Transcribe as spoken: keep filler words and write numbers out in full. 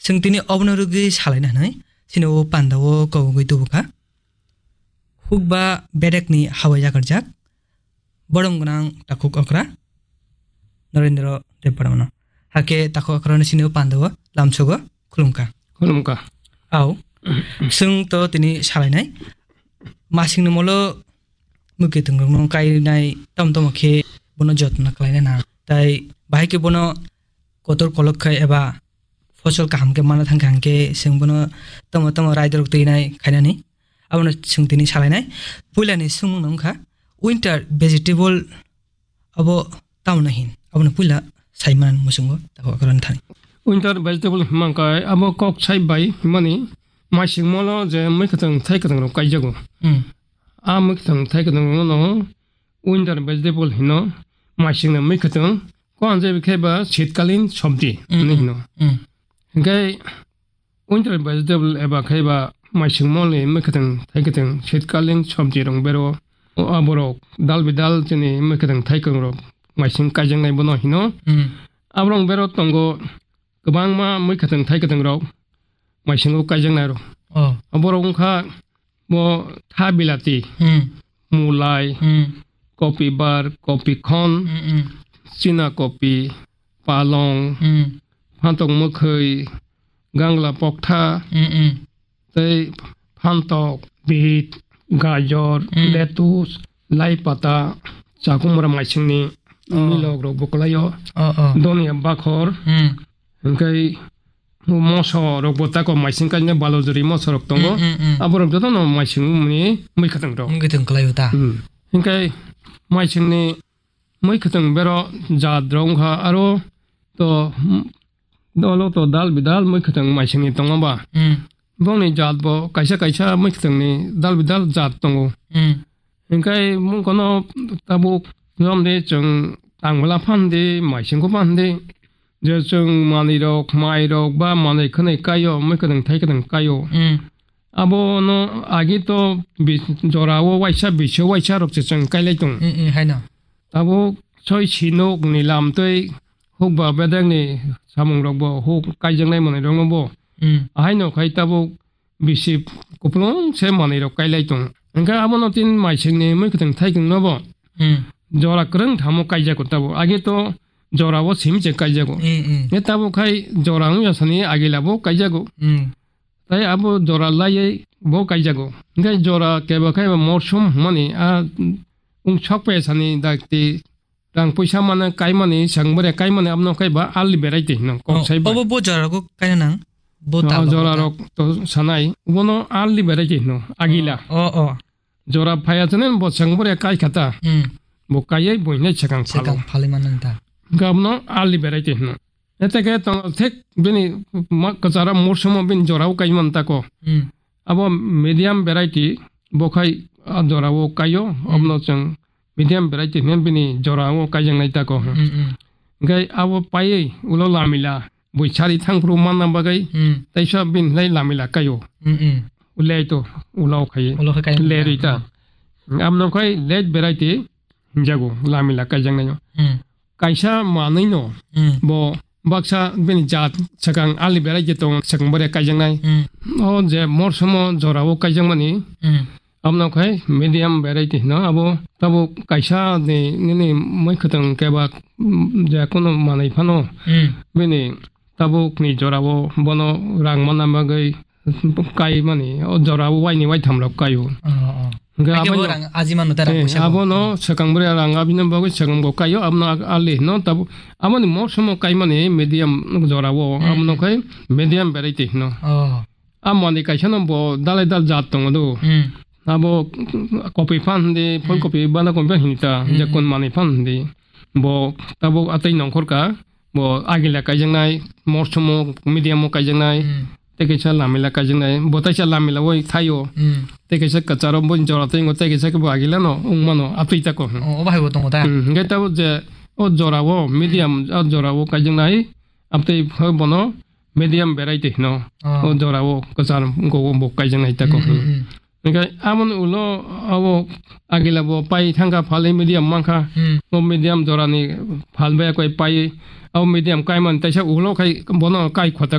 Chwng tini obono rwgwi salaina hwnwi, chini o panda o kogwi tubukha. Hukba bedekni hawai yakarjak, borom gwnang takhuk okra, Narendra Debbarmano. Hakhe takhuk okra no chini o panda o lamsogo khulumkha. Khulumkha. Au, chwng to tini salainai. Masingni molo mwkhwtwng rokno kainai tom tomo khe bono jotno khlaina nang. Tai bahai khe bono kotor kolok khai eba fosol kaham khe mana thang kha hwnkhe chwng bono tomo tomo raida rok twinai khainani. Abono chwng tini salainai. Puilani swngmung no wngkha winter vegetable abo tamno hin? Abono puila sai manan muchungo tako akoroni thani. Winter vegetable himang kai abo kok sai bai himani maising molo je mwkhwtwng thai kwtwng rok kaijago. Hmm. A mwkhwtwng thai kwtwng rok no winter vegetable hino, maising na mwkhwtwng ko anje bikhe ba shitkalin sabji Hmm, ni hmm, hino. Hmm. Hingkai winter vegetable eba khai ba maising mol ni mwkhwtwng thai kwtwng shitkalin sabji rong bero. O aborok dal bidal chini mwkhwtwng thai kwtwng rok maising kaijaknai bono hino. Hmm. Aborok bero tongo kwbangma mwkhwtwng thai kwtwng rok maisingo kaijaknai rok. Oh. Aborok wngkha bo tha bilati, Hmm. mulai, Hmm. kopi bar, kopi khon, Hmm, hmm. china kopi, palong, Hmm. phantok mwkhwi, gangla poktha, Hmm, hmm. tei phantok, bit, gajor, Hmm. lettuce, lai pata, chakumra maisingni Oh. milok rok bo kwlaio, Oh, oh. donia bakhor, Hmm. hingkai moso rok bo tako maising kainai balojori moso rok tongo. Hmm, hmm, hmm. Aborok jotono maising mani mwkhwtwng rok. Mwkhwtwng kwlaio ta? Hmm. Hingkai maisingni mwkhwtwng bero jat rok wngkha aro to, hmm, dolo to dal bidal mwkhwtwng maisingni tongo ba. Hmm. Bongni jat bo kaisa kaisa mwkhwtwngni dal bidal jat tongo. Hmm. Hingkai mungkono tabuk jomde chwng tangwla phan di, maisingko phan di, je chwng manwi rok, mai rok ba manwi khwnwi kaio, mwkhwtwng thai kwtwng kaio. Hmm. Abono agi to bi-, jorao waisa, biso waisa rok se chwng kailai tongo. Hmm, hmm, haino. Tabuk soi sinok ni lam tei hukba bedekni samung rok bo huk kaijaknai manwi rok no bo. Hmm. Ahaino khai tabuk bisi kupulung se manwi rok kailai tongo. Hingke abono tin maisingni mwkhwtwng thaikwngno bo Hmm. jora kwrwng thamo kaijago tabuk. Age to jora o simi se kaijago. Hmm, hmm. Nge tabuk khai jora wngya sani agila bo kaijago. Hmm. Tai abo jora laiye bo kaijago. Hingke jora kebo khai bo morsum hwnmani a wng sok pe sani dakti rang puisa mano kaimani, sengbre kaimani, abno kaiba early variety hino, kok Oh, saiba. Obo bo jora go kaina nang? Bo Oh, tabla jora bo ta? Rok to sanai, bono early variety hino, agila. Oh, oh. Jora phaya chane bo sengbre kai khata. Hmm. Bo kaiye bo hine sekang phalo. Sekang phali mano ta. Gabno early variety hino. Eteke tong thik bini ma-, kwchara morsumo bini jorao kaiman tako. Hmm. Abo medium variety bo khai a jorao kaio, Hmm. abno chwng medium variety hwnwi bini jorao kaijaknai tako. Hmm, hmm. Hingke abo paiwi ulo lamila bui sari thangphuru manna bagwi Hmm. teisa bini lai lamila kaio. Hmm, hmm. Ulai to ulo khai Ulo khai kaio. Lerwi ta. Hmm. Abno khai late variety hinjago lamila kaijaknaino. Hmm. Kaisa manwino Hmm. bo baksa bini jat swkang early variety tong swkang bore kaijaknai. Hmm. O je morsumo jorao kaijakmani Hmm. Abno khai medium variety hino abo tabuk kaisa ni nini mwkhwtwng keba, mm, je kono manwi phano Hmm. bini tabuk ni jorao bono rang manna bagwi kaimani o jorao waini waitham rok kaio. Oh, oh. Hingke Haikhe bo aboni rang aji mano ta rang Eh, puisa bo. Abono swkang bwrwi rang abini bagwi swkang bo kaio abono ag-, ali hino tabuk aboni morsumo kaimani medium jorao Hmm. abono khai medium variety hino. Oh. A manwi kaisa no bo dalai dal jat tongo do. Hmm. Abo kopi phan hindi, phul Hmm. kopi bana kopi phan hindi ta, Hmm. je kon manwi phan hindi. Bo tabuk atwi nongkhor ka, bo agila kaijaknai, morsumo medium o kaijaknai, Hmm. tei kaisa lamila kaijaknai, bo taisa lamila oi thaio, Hmm. tei kaisa kwcharo bo jora tei tei kaisa khe bo agila no wngmano atwi tako. Oh, o bahai bo tongo ta? Hmm, hingke tabuk je o jora o medium, o jora o kaijaknai, abtwi bono medium variety hino. Oh. O jora o kwchar wngkok bo kaijaknai tako. Hmm, hmm, hmm. Hingke aboni ulo abo agila bo pai thangkha phal medium mankha. Hmm. O medium jorani phal bai koi pai. Abo medium kaimani taisa ulo khai bono kai khota